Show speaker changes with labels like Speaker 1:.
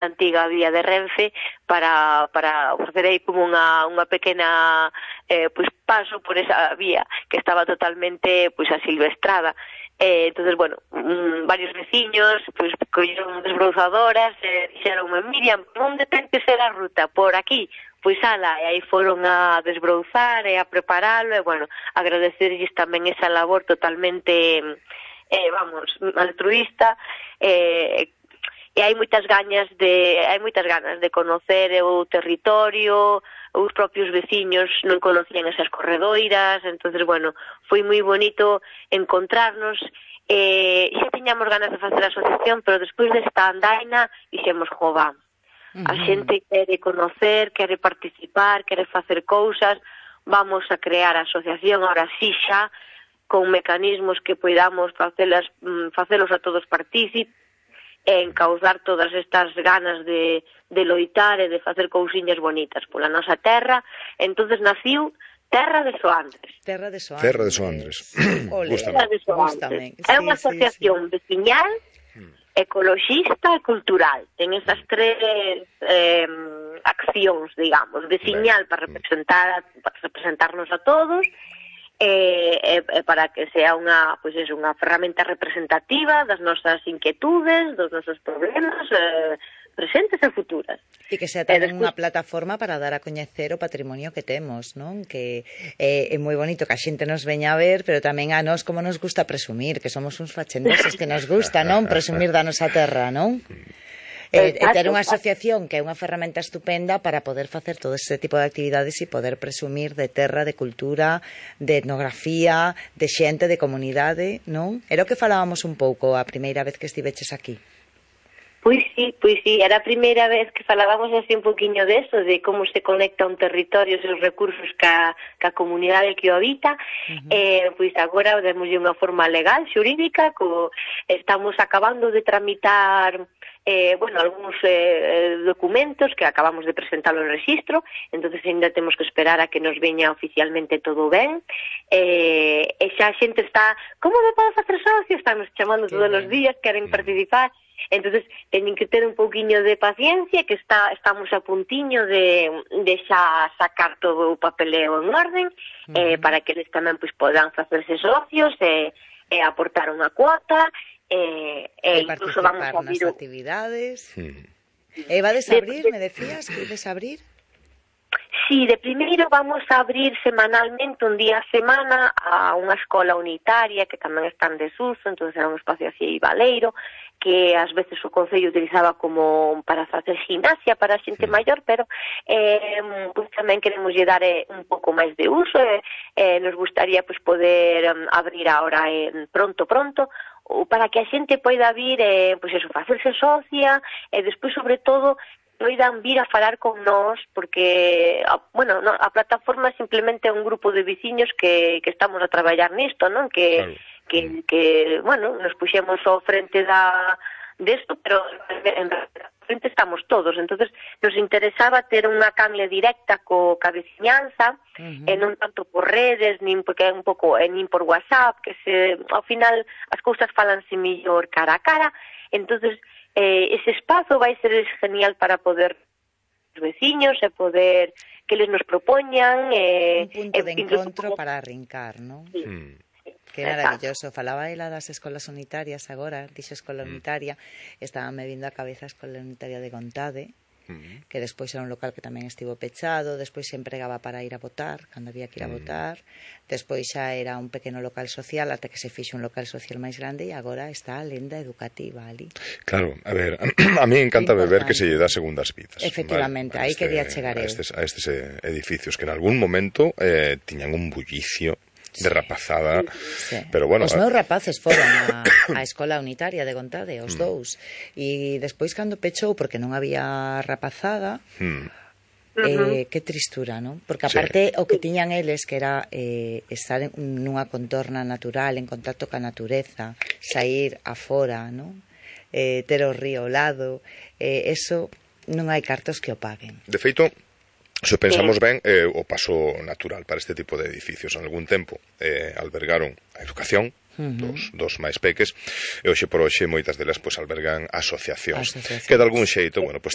Speaker 1: antiga vía de Renfe para facer aí como unha pequena pois paso por esa vía que estaba totalmente pois asilvestrada. Entonces, bueno, varios veciños pois colleron desbrouzadoras e dixeronme: Miriam, onde ten que ser a ruta? Por aquí. Pois ala, e aí foron a desbrouzar e a preparalo, e bueno, agradecerlles tamén esa labor totalmente altruista, e hai moitas ganas de conocer o territorio. Os propios veciños non conocían esas corredoiras, entonces, bueno, foi moi bonito encontrarnos. Xa tiñamos ganas de facer a asociación, pero despois desta andaina dixemos: jova, a xente quere conocer, quere participar, quere facer cousas, vamos a crear a asociación ahora sí xa, con mecanismos que poidamos facelos a todos partícipes, e encauzar todas estas ganas de loitar e de facer cousiñas bonitas pola nosa terra. Entonces naciu Terra de Soandres.
Speaker 2: Terra de Soandres.
Speaker 1: Gústame. É unha asociación veciñal, ecoloxista e cultural. Ten esas tres accións, digamos, veciñal para representarnos a todos, para que sea unha ferramenta representativa das nosas inquietudes, dos nosos problemas presentes e futuras.
Speaker 2: E que sea tamén unha plataforma para dar a coñecer o patrimonio que temos, non? Que é moi bonito que a xente nos veña a ver, pero tamén a nós como nos gusta presumir, que somos uns fachendeses que nos gusta, non? Presumir da nosa terra, non? E ter unha asociación que é unha ferramenta estupenda para poder facer todo ese tipo de actividades e poder presumir de terra, de cultura, de etnografía, de xente, de comunidade, non? Era o que falábamos un pouco a primeira vez que estiveches aquí.
Speaker 1: Pois sí, era a primeira vez que falábamos así un poquinho deso, de como se conecta un territorio e os recursos ca comunidade que o habita. Pois agora demoslle unha forma legal, xurídica, estamos acabando de tramitar algúns documentos que acabamos de presentalo en registro, entonces ainda temos que esperar a que nos veña oficialmente todo ben, e xa a xente está: como me podo facer socio? Están nos chamando todos os días, queren participar. Entonces teñen que ter un pouquiño de paciencia, que estamos a puntiño de xa sacar todo o papeleo en orden, para que eles tamén podan facerse socios e aportar unha cuota, e incluso vamos a abrir
Speaker 2: nas actividades. Vades a abrir, me decías que ides a abrir?
Speaker 1: Sí, de primeiro vamos a abrir semanalmente, un día a semana, a unha escola unitaria que tamén está en desuso, entonces era un espacio así baleiro, que ás veces o Concello utilizaba como para facer gimnasia para a xente maior, pero tamén queremos lle dar un pouco máis de uso, nos gustaría poder abrir agora pronto, para que a xente poida vir facerse socia, e despois, sobre todo, poidan vir a falar con nós, porque a plataforma simplemente é un grupo de veciños que estamos a traballar nisto, non? Que nos puxemos ao frente desto, pero en frente estamos todos. Entonces nos interesaba ter unha canle directa ca veciñanza, e non tanto por redes, porque é un pouco nin por WhatsApp, que ao final as cousas falanse mellor cara a cara. Entonces ese espazo vai ser genial para poder os veciños e poder que eles nos propoñan
Speaker 2: un punto de encontro para arrincar, non?
Speaker 1: Sí.
Speaker 2: Que maravilloso. Falaba ela das escolas unitarias agora, dixo escola unitaria, estaba me vindo a cabeza a escola unitaria de Gontade, que despois era un local que tamén estivo pechado, despois se empregaba para ir a votar, cando había que ir a votar, despois xa era un pequeno local social, ata que se fixe un local social máis grande, e agora está a lenda educativa ali.
Speaker 3: Claro, a ver, a mí encanta ver que se lle dá segundas vidas.
Speaker 2: Efectivamente, aí quería chegar eu.
Speaker 3: A estes edificios que en algún momento tiñan un bullicio de rapazada,
Speaker 2: sí.
Speaker 3: Pero bueno...
Speaker 2: Os meus rapaces foron á escola unitaria de Gontade, os dous, e despois cando pechou, porque non había rapazada, que tristura, non? Porque aparte o que tiñan eles, que era estar nunha contorna natural, en contacto ca natureza, sair afora, non? Ter o río ao lado, eso non hai cartos que o paguen.
Speaker 3: De feito, se pensamos ben, o paso natural para este tipo de edificios. En algún tempo albergaron a educación, dos máis peques, e hoxe por hoxe moitas delas pois albergan asociacións que de algún xeito, bueno, pois